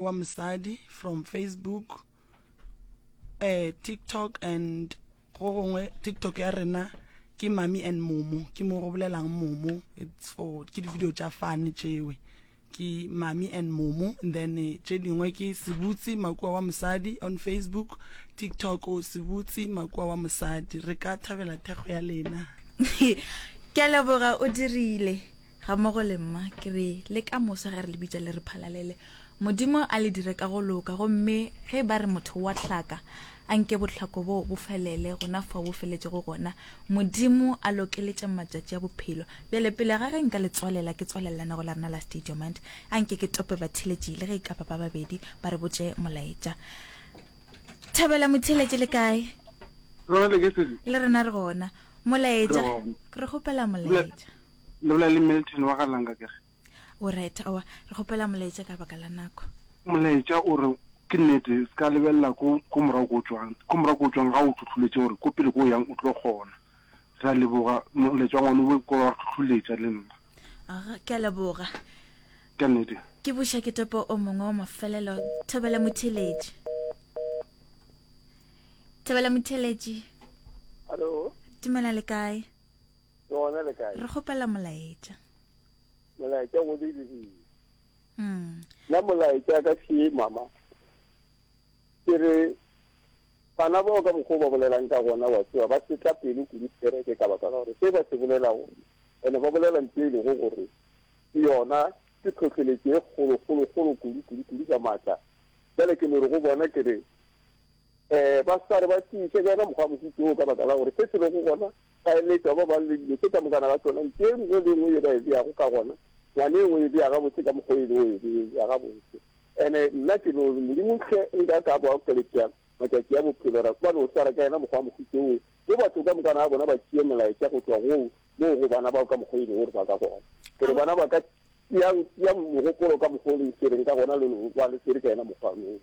wa Mosadi from Facebook, eh, TikTok and go gongwe TikTok ya rena ke Mami and Momo, ke mo go bolelang Momo, it's for ke di-video tša fun tšewe. Ke Mami and Momo and then eh, tše dingwe ke Sebutsi Makua wa Mosadi on Facebook, TikTok o Sebutsi Makua wa Mosadi. Re ka thabela thekgo ya lena. Ke a leboga o dirile ga mmogo le mma ke re le ka moso ge re le bitša le re phalalele modimo a le dire ka go loka gomme ge ba re motho wa hlaka a nke bohlako boo bo felele gona fao bo feletšego gona modimo a lokeletše matšatši a bophelo bjale pele ga ge nka le tswalela ke tswalela lenanego la rena la state your mind a nke ke tope batheletši le ge e ka ba ba babedi ba re botše molaetša thabela motheletši le kae Rona le ke sedi. le rena re gona molaetša re kgopela molaetša Le bolela le Milton wa ga Langa ke re. O right, aowa, re kgopela molaetša ka baka la nako. Molaetša o re, Ke nnete, se ka lebelela ko, ko morago ko o tšwang. Ko morago ko o tšwang ga o hlohloletše gore ko pele ko o yang o tlo kgona. Re a leboga, molaetša wa ngwano o ko wa re hlohloletša le nna. Aga, ke a leboga. Ke nnete. Ke buša ke topo o mongwe wa mafelelo. Thobela motheeletši. Thobela motheeletši. Hallo. Dumela le kae? Ke gona le kae? Re kgopela molaetša. Molaetša go diregile. Mm. Nna molaetša ka še mama. Ke re bana bao ka mokgwa o ba bolelang ka gona wa tseba ba setla pelo kudu kereke ka baka la gore se ba se bolelago ene ba bolela ntho e lego gore ke yona ke tlhohleletšo e kgolo kgolo kgolo kudu kudu kudu ka maatla bjale ke no re go bona ke re um ba sa re ba tiiše ka yona mokgwa wa mohuto oo ka baka la gore se se lego gona Ba eletša ba bang le dilo tše ka mokana ga tšona, ntho e nngwe le e nngwe ye ba e beago ka gona, ngwana e nngwe e bea gabotse ka mokgwa o e lego e bea gabotse. Ene nna ke no re, Modimo hle nka ka ba okeletša matšatši a bophelo, ra ba no swara ka yena mokgwa wa mohuta wo, mo batho ka mokana ga bona ba tšee molaetša go tšwa go moo go bana bao ka mokgwa o e lego gore ba ka gona. Ke re bana ba ka, tšeang, tšeang mogopolo ka mokgwa o le swereng ka gona, le no ba le swere ka yena mokgwa wo.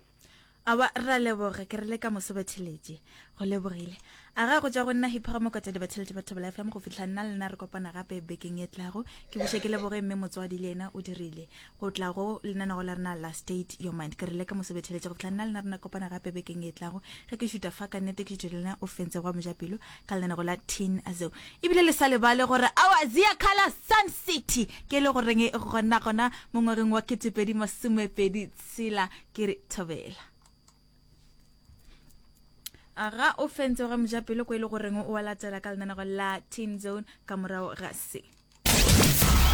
Aowa, re a leboga, ke re le ka moso batheletši. Go lebogile. A ga go tšwa go nna Hiphoga Mokotedi batheletši ba Thobela FM go fihla nna le nna re kopana gape bekeng e tlago. Ke buše ke leboge mme motswadi le yena o dirile go tla go lenanego la rena la State Your Mind. Ke re le ka moso batheletši go fihla nna le nna rena kopana gape bekeng e tlago. Ge ke šuta fa ka nnete ke šuthe le nna o fentse gwa mojapelo ka lenanego la Teen Azeo. Ebile le sa lebale gore aowa Ziyakhala Sun City ke e le goreng gona gona mo ngwageng wa 2020 Tshela ke re thobela. Aga o fentse ga mojapelo ko e le goreng o a latela ka lenanego la Teen Zone ka morago ga se.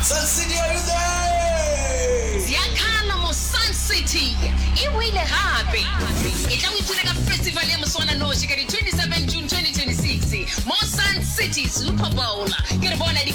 Sun City are you there? Ziyakhala mo Sun City e boile gape. Etla o ipshine ka festival ya moswananoši ka di 27 June 2026 mo Sun City Super Bowl. Ke re bona di.